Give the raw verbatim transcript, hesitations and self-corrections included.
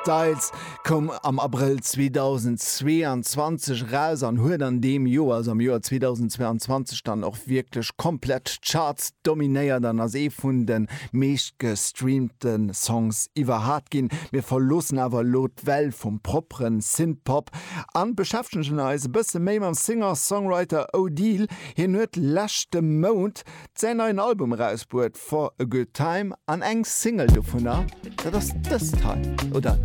Styles koum am Abrëll zweedausendzweeanzwanzeg eraus an huet an deem Joer, also am Joer zweedausendzweeanzwanzeg, dann och wierklech komplett d'Charts dominéiert an ass ee vun de meescht gestreamte Songs iwwerhaapt ginn. Mir verloossen awer elo d'Welt vum propperen Synthpop an beschäftegen eis e bësse méi mam Singer-Songwriter Odile. Hien huet leschte Mount säin neien Album erausbruet, For a Good Time, an eng Single dovunner, dat ass dëst hei, oder